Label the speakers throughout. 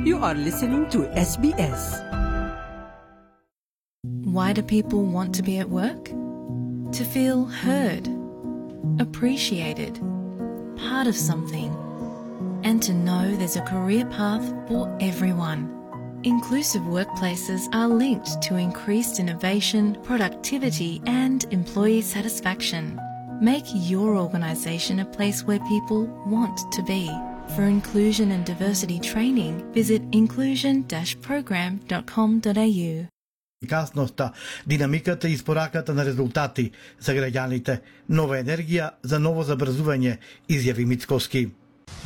Speaker 1: You are listening to SBS.
Speaker 2: Why do people want to be at work? To feel heard, appreciated, part of something, and to know there's a career path for everyone. Inclusive workplaces are linked to increased innovation, productivity, and employee satisfaction. Make your organisation a place where people want to be. For inclusion and diversity training, visit inclusion-program.com.au.
Speaker 3: Ефикасноста, динамиката и испораката на резултати за граѓаните, нова енергија за ново забрзување, изјави Мицкоски.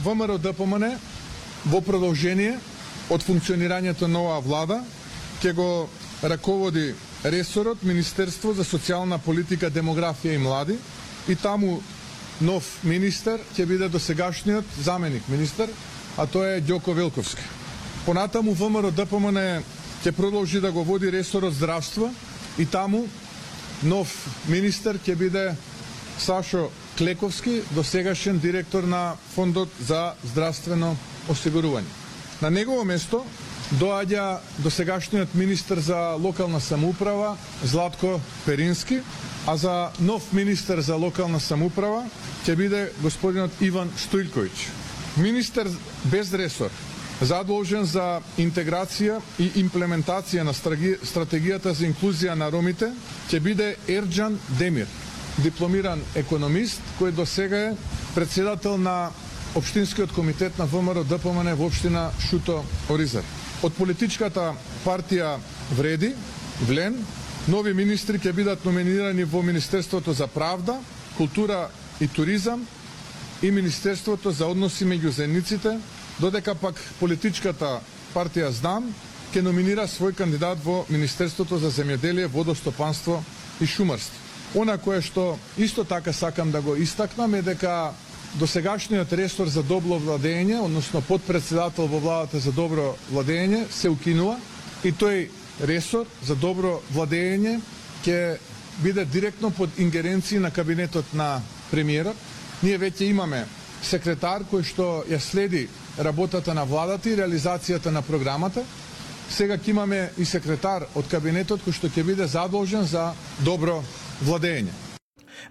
Speaker 4: ВМРО ДПМН во продолжение од функционирањето на оваа влада ќе го раководи ресорот Министерство за социјална политика, демографија и млади, и таму нов министер ќе биде досегашниот заменик министер, а тоа е Ѓоко Велковски. Понатаму ВМРО ДПМН ќе продолжи да го води ресорот здравство и таму нов министер ќе биде Сашо Клековски, досегашен директор на Фондот за здравствено осигурување. На негово место доаѓа досегашниот министер за локална самоуправа Златко Перински, а за нов министер за локална самоуправа ќе биде господинот Иван Стоилковиќ. Министер без ресор, задолжен за интеграција и имплементација на стратегијата за инклузија на ромите, ќе биде Ерџан Демир, дипломиран економист, кој досега е председател на Општинскиот комитет на ВМРО ДПМН во општина Шуто Оризар. Од политичката партија Вреди, Влен, нови министри ќе бидат номинирани во Министерството за правда, култура и туризам и Министерството за односи меѓу заедниците, додека пак политичката партија Знам ќе номинира свој кандидат во Министерството за земјоделие, водостопанство и шумарство. Она кое што исто така сакам да го истакнам е дека досегашниот ресор за добро владење, односно подпредседател во владата за добро владење, се укинува и тој ресор за добро владење ќе биде директно под ингеренција на кабинетот на премиерот. Ние веќе имаме секретар кој што ја следи работата на владата и реализацијата на програмата. Сега ќе имаме и секретар од кабинетот кој што ќе биде задолжен за добро владење.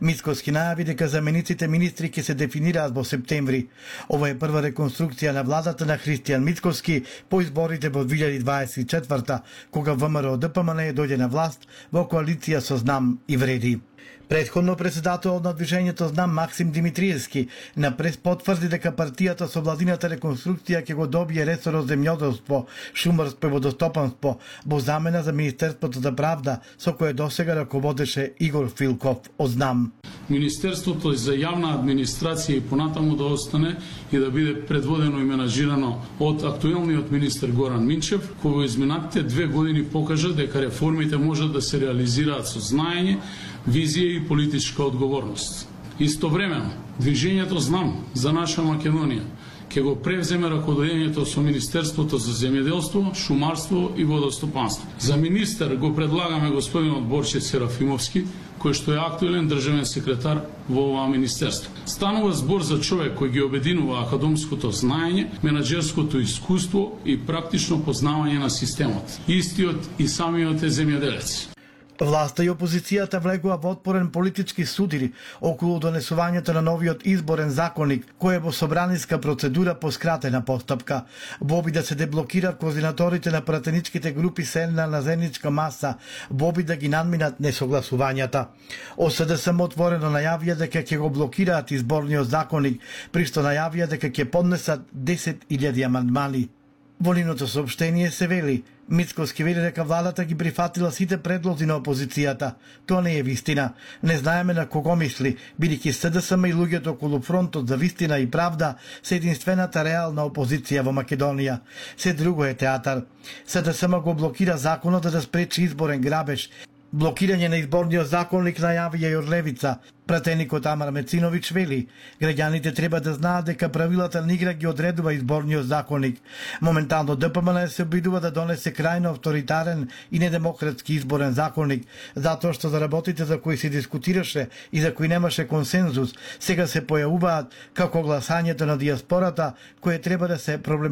Speaker 3: Мицкоски најави дека замениците министри ќе се дефинираат во септември. Ова е прва реконструкција на владата на Христијан Мицкоски по изборите во 2024, кога ВМРО ДПМН дојде на власт во коалиција со Знам и Вреди. Претходно председателот на движењето Знам Максим Димитриевски на прес потврди дека партијата со владината реконструкција ќе го добие ресорот земјоделство, шумарство и водостопанство во замена за Министерството за правда, со кое досега раководеше Игор Филков од Знам.
Speaker 5: Министерството за јавна администрација и понатаму да остане и да биде предводено и менажирано од актуелниот министер Горан Минчев, кој во изминатите 2 години покажа дека реформите можат да се реализираат со знаење, визија и политичка одговорност. Истовремено, движењето Знам за наша Македонија ќе го превземе раководењето со Министерството за земјоделство, шумарство и водостопанство. За министер го предлагаме господинот Борче Серафимовски, кој што е актуелен државен секретар во ова министерство. Станува збор за човек кој ги обединува академското знаење, менаџерското искуство и практично познавање на системот. Истиот и самиот е земјоделец.
Speaker 3: Власта и опозицијата влегува во отпорен политички судири околу донесувањето на новиот изборен законник, кој е во собраниска процедура по скратена постапка. Во обид да се деблокира координаторите на пратеничките групи седна на заедничка маса, во обид да ги надминат несогласувањата. ОСДСМ отворено најавија дека ќе го блокираат изборниот законник, при што најавија дека ќе поднесат 10.000 амандмани. Во нивното соопштение се вели: Мицкоски вели дека владата ги прифатила сите предлози на опозицијата. Тоа не е вистина. Не знаеме на кого мисли, бидејќи СДСМ и луѓето околу фронтот за вистина и правда се единствената реална опозиција во Македонија. Се друго е театар. СДСМ го блокира законот да спречи изборен грабеж. Блокирање на изборниот законник најавија и од левица. Пратеникот Амар Мециновиќ вели: граѓаните треба да знаат дека правилата на игра ги одредува изборниот законник. Моментално ДПМН се обидува да донесе крајно авторитарен и недемократски изборен законник, затоа што за работите за кои се дискутираше и за кои немаше консензус, сега се појавуваат како гласањето на дијаспората, кое треба да се проблематизира